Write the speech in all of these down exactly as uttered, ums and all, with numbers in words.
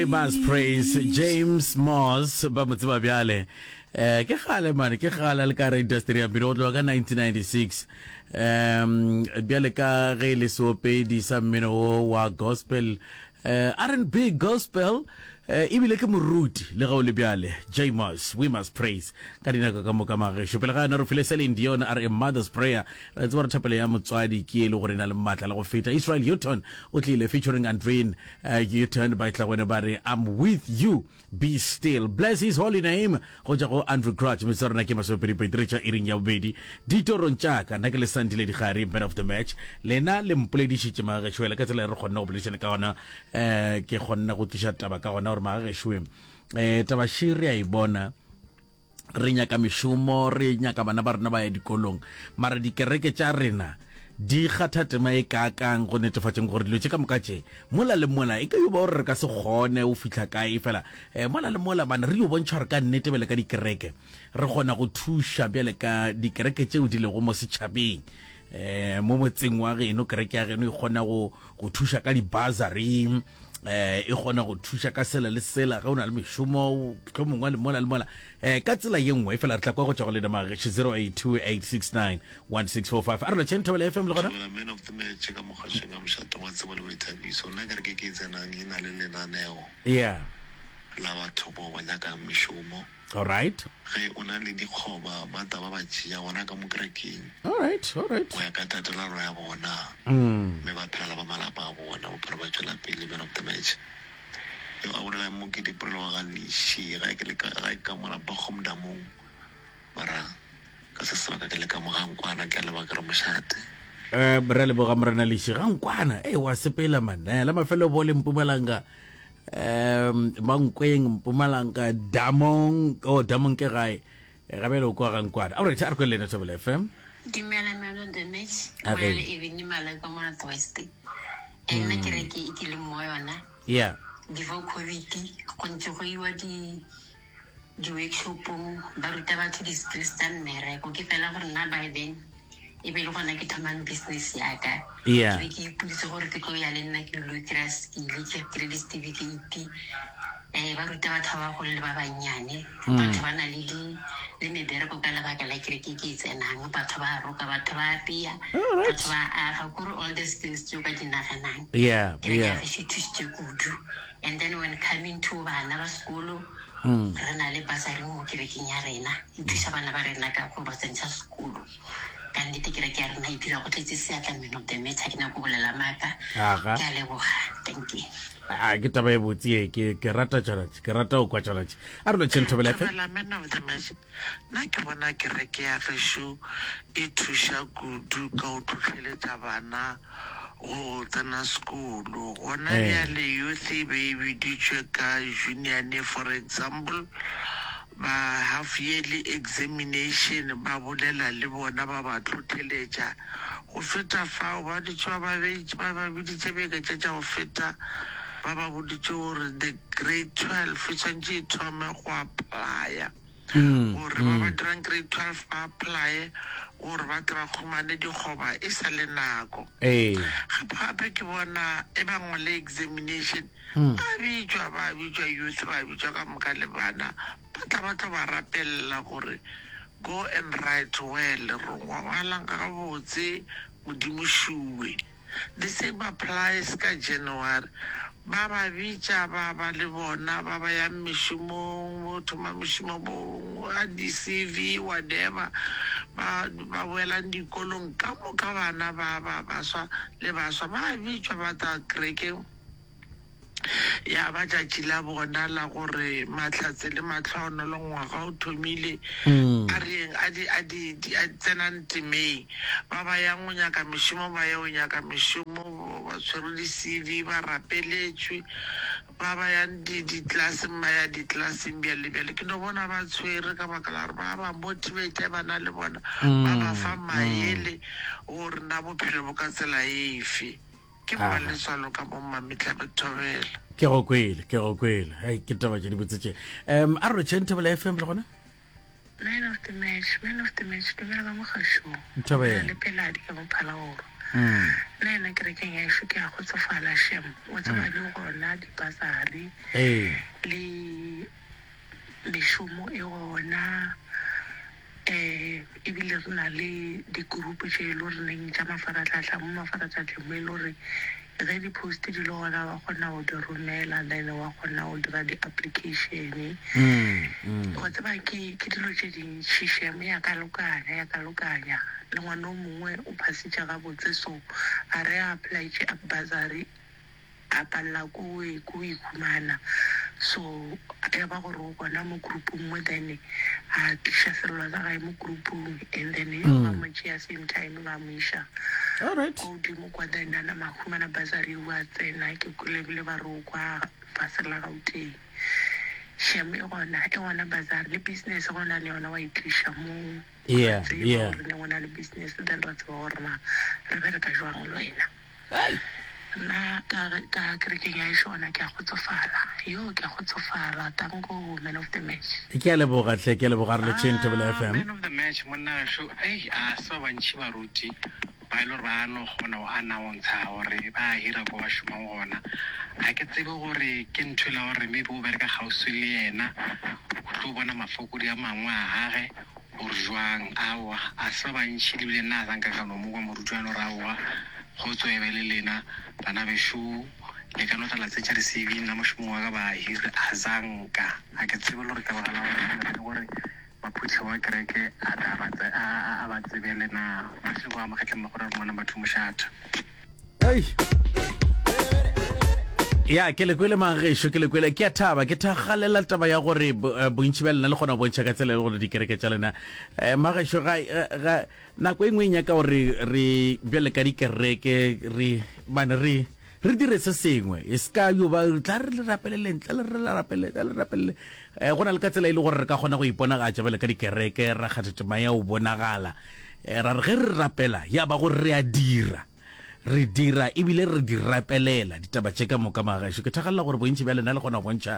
We must praise James Moss ba mo tseba bjale eh ke gale mane ke gale le ka re industry ya mmino go tloga ka nineteen ninety-six um bjale ka ge le seopedi sa mmino wo wa gospel eh R and B gospel eh ebile ke moruti le ga o le bjale James We must praise ka dinako ka moka magešo pele ga yona re file Celine Dion a re a mother's prayer re tseba re thapelo ya motswadi ke e le gore e na le maatla le go feta Israel Houghton o tlile featuring Andreen uh, Houghton ba tla gone ba re I'm with you be still bless his holy name go tšwa go Andrew Crouch metsotso ya rena ke masomepedi-pedi re tšwa iring ya bobedi ditorong tša ka nna ke le Sandile Digare man of the match lena le mpoledišitše magagešo ka tsela e re kgonne go boledišana ka gona um ke kgonne go tliša taba ka gona gore magagešo um taba še re a e bona re nyaka mešomo re nyaka bana ba rena ba ya dikolong mara dikereke tša rena di kgatha tema e kaakang go netefatšeng gore dilo tše ka moka tše mola le mola e ka yo ba gore re ka se kgone o fihla kae fela um mola le mola bana re yo bontšha gore ka nnete bjale ka dikereke re kgona go thuša bjale ka dikereke tšeo di lego mo setšhabeng um mo motseng wa geno kereke ya geno e kgona go go thuša ka di-bursary um e kgona go thuša ka sela le sela ge o na le mešomo tlo mongwe le mola le mola um ka tsela ye nngwe fela re tla kwa go tšwa go lena mageše zero eight two eight six nine one six four five a re lotšheng Thobela F M le gona Thobela man of the match ka mogašong ya mošate wa tsebo le boithabiso. Nna kereke ke e tsenang e na le lenaneo yeah la batho bao ba nyakang mešomo. All right. Ge o na le dikgoba ba tla ba ba tšea gona ka mo kerekeng. All right, all right. Go ya ka tatelano ya bona mme ba phela le ba malapa a bona bophelo ba tšwela pele man of the match. Yo a bolelang mo ke Dipolelo wa ga Leši ga ke le ka ga ke ka mo lapa Kgomdamong mara ka se sebaka ke le ka mo ga Nkwana ke a leboga ke re mošate. Eh re a leboga morena Leši ga Nkwana e wa sepela man eh la mafelo bo le Mpumalanga um Mankweng Mpumalanga Damong oh Damong ke gae ga bjale o kwa ga Nkwana. All right a re kwe le lena Thobela F M. Dumela man of the match A o bolela re. le Ebony Maleka mo North West. E nna kereke e ke leng mo yona Yeah. before COVID go ntse go iwa di di-workshopong ba ruta batho di-skills tsa mmereko ke fela gore nna by then e be le gona ke thomang business yaka Yeah. ke be ke ipoditse gore ke tlo ya le nna ke lo kry-a skill ke kry di-certificate um ba ruta batho ba bagolo le ba bannyane batho ba na le di le mebereko ka lebaka la kereke ke e tsenang batho ba roka batho ba apea Alright. batho ba aga kore all the skills tseo ka di naganang Yeah, kereke ya yeah. gešo e thusitse kudu and then when coming to bana ba sekolo re na le basari mo kerekeng ya rena e thusa bana ba rena ka go ba tsentšha sekolo ka nnete kereke ya rena e dira go tletse seatla man of the match ha ke nyako bolela maaka Aga. ke a leboga thank you A ke taba e botse ye ke ke rata tšona tše, ke rata go kwa tšona tše. A re lotšheng Thobela F M. Thobela man of the match nna ke bona kereke ya gešo e thuša kudu ka go tlhohleletša bana go tsena sekolo gona Eh. bjale youth e be e biditšwe ka union for example ba half yearly examination ba bolela le bona ba ba tlhohleletša go feta fao ba dutše ba ba beitše ba ba biditše beke tše tša go feta ba ba boditše gore the grade twelve e tshwanetše e thome go applya gore ba ba dirang grade twelve ba applye gore ba tle ba khumane dikgoba e sa le nako Ee. gape gape ke bona e ba ngwale examination ba bitšwa ba bitšwa youth ba bitšwa ka moka le bana ba tla ba tlo ba rapelela gore go and write well re ngwalang gabotse modimo šuwe the same applies ka January ba ba bitša ba ba le bona ba ba yang mešomong bo thoma mešomo bo a di-C V whatever ba ba boelang dikolong ka moka bana ba ba baswa le baswa ba bitšwa ba tla kerekeng ya ba tšatši la bona la gore mahlatse le mahlohonolo ngwaga o thomile a reng a di a di di a tsenang temeng ba ba yang go nyaka mešomo ba ye go nyaka mešomo ba tshwere di-C V ba rapeletšwe ba ba yang di di-classeng ba ya di-classeng bjale bjale ke no bona ba tshwere ka baka la gore ba ba motivate ba na le bona ba ba fa maele gore na bophelo bo ka tsela efe ke Aha. mmaletswalo ka mo mmametla thobela Ke go kwele, ke go kwele. Hei ke taba tše di botse tše. Um a re lotšheng Thobela F M le gona. Man of the match, man of the match, dumela ka mogašong. Thobela. Le peladi ka mo Phalaborwa. Nna yena kerekeng ya ešo ke a kgotsofala shem. Wa tseba le gona dipasari Ee. le mešomo e gona um ebile re na le di-group tše e le goreneng tša mafaratlhatlha mo mafaratlhatlheng mo e le gore ge di-post di le gona wa kgona go di romela then wa kgona go dira di-application. Mm, mm. Wa tseba ke ke dilo tše dintšhi shem ya ka lokanya ya ka lokanya le ngwana o mongwe o phasitše gabotse so a re a applyetše bursary a palela ko e ko e khumana so ya ba gore o gona mo groupong mo then a tliša sello sa gae mo groupong and then ba mo tšea same time ba mo iša All right. ko godimo kwa then a nama a humana bursary o a tsena ke kwele ebile ba re o kwa fase la Gauteng shem e gona e gona bursary le business gona le yona wa e tliša mo Yeah, ra tseba yeah. gore ne go na le business then ra tseba gore na re bereka jwang le wena Ai. nna ka ka kerekeng ya ešo gona ke a kgotsofala yo ke a kgotsofala tanko man of the match Ke a leboga hle, ke a leboga re lotšheng Thobela Ah, F M. man of the match monna gešo ei a se ba bantši baruti ba e le gore ba no kgona go announcer gore ba hira ko ba šomang gona ga ke tsebe gore ke ntho e la gore maybe o bereka kgauswi le yena o tlo bona mafokodi a mangwe a gage gore jwang aowa a se ba bantši lebile nna a sanka ka no mo kwa moruti wa gore aowa kgotso e be le lena bana bešo le ka no tla la tsentšha di-C V nna mošomong wa ka ba hire a zanka ga ke tsebe le gore ka baka la gore gore maphuthego wa kereke a tla ba tse- a- a a ba tsebele na mašego a makgetleng magore re mona batho mošata Ei. Ya ke le kwele magešo ke le kwele ke a thaba ke thagalela taba ya gore bo- eh, bontši bja lena le kgona go bontšha ka tsela e le gore dikereke tša lena um magešo ga ga nako e nngwe e nyaka gore re bjale ka dikereke re mane re re dire se sengwe e se ka yo ba tla re le rapeleleng tla le re le rapelele tla le rapelele um go na le ka tsela e le gore re ka kgona go iponagatša bjale ka dikereke ra kgatha tema ya go bonagala um ra re ge re rapela ya ba gore re a dira re dira ebile re di rapelela ditaba tše ka moka magaešo ke thagalela gore bontši bja lena le kgona go bontšha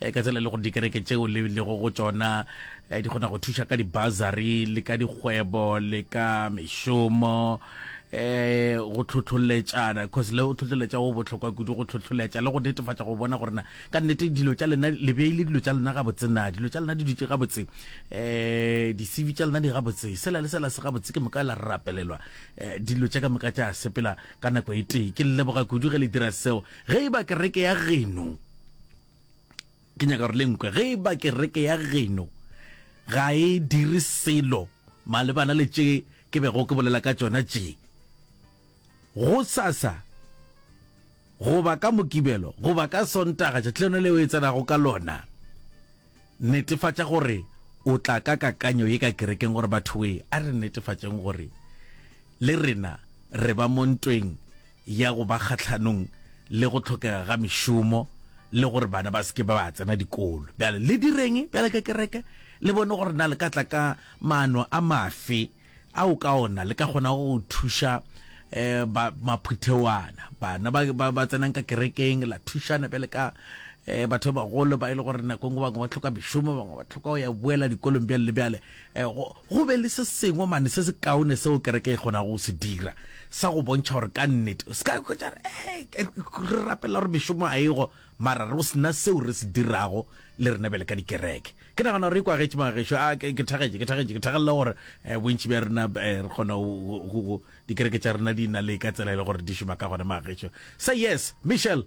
eh, ka tsela e le gore dikereke tšeo le lego go tšona eh, di kgona go thuša ka di-bursary le ka dikgwebo le ka mešomo eh go tlhotlholetšana cause le go tlhotlholetša go bohlokwa kudu go tlhotlholetša le go netefatša go bona gore na ka nnete dilo tša lena le beile dilo tša lena gabotse na dilo tša lena di dutše gabotse eh di-C V tša lena di gabotse sela le sela se gabotse ke moka la rapelelwa eh dilo tša ka moka tša sepela ka nako e tee ke le leboga kudu ge le dira seo ge e ba kereke ya geno ke nyaka gore le nkwe ge e ba kereke ya geno ga e dire selo malebana le tše ke bego ke bolela ka tšona tše go sasa goba ka mokibelo goba ka sontaga tšatši lona leo e tsenago ka lona netefatša gore o tla ka kakanyo ye ka kerekeng gore batho e a re netefatšeng gore le rena re ba mo ntweng ya go ba kgahlanong le go tlhokega ga mešomo le gore bana ba seke ba ba tsena dikolo bjale le direng bjale ka kereke le bone gore na le ka tla ka maano a mafe ao ka ona le ka kgona go thuša eh ba maphuthewana bana ba ba, ba tsenang ka kerekeng la thušana bjale ka eh batho ba bagolo ba e le gore nako nngwe bangwe ba tlhoka mešomo bangwe ba tlhoka go ya boela dikolong bjale le bjale eh go go be le se sengwe mane se se kaone seo kereke e kgonago go se dira sa go bontšha gore ka nnete se ka hwetša re eh, re rapela gore mešomo a ego mara re go sena seo re se dirago le rena bjale ka dikereke ke nagana gore e kwagetše magešo a ke ke thagetše ke thagetše ke thagelela gore eh, bontši bja rena eh, re kgona go- go go- dikereke tša rena di na le ka tsela e le gore di šoma ka gona magešo say yes Michelle